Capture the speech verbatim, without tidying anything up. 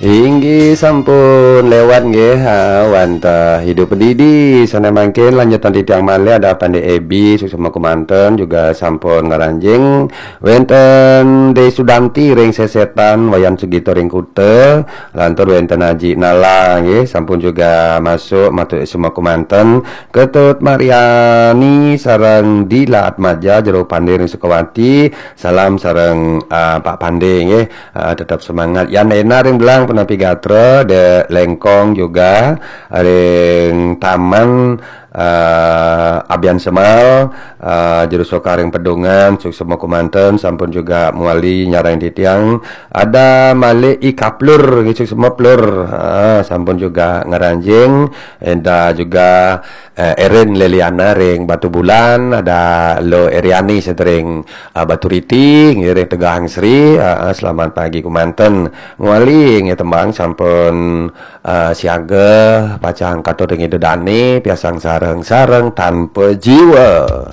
Inggih sampun lewat nggih, ha, wantah Hidup Didi. Sané mangkin lanjutan titiang malih ada Pandé Ebi, suksma kumanten juga sampun ngranjing. Wénten Dé Sudanti ring Sesetan, Wayan Sugito ring Kuta, lantur wénten Aji Nala nggih, sampun juga masuk matur suksma kumanten. Ketut Mariani sareng Dila Atmaja Jero Pandé ring Sukawati, salam sareng ah, Pak Pandé nggih. Ah, tetap semangat. Yan Ena ring Belang punapi gatra, Dé Lengkong juga ring Taman ah, Abian Semal, ah, Jero Soka ring Pedungan, suksma kumanten, sampun juga mawali nyarengin titiang. Ada malih I Kaplur, nggih, suksma Plur. Ah, sampun juga ngranjing, Enda juga eh, Erin Leliana ring Batubulan, ada Lo Eriani sedering ah, Baturiti, ngiring Tegahangsri, ah, ah, selamat pagi kumanten. Mawali nggih tembang sampun ah, siaga, pacang katon ring Ida Dané, piarsang sareng-sareng tanpa jiwa.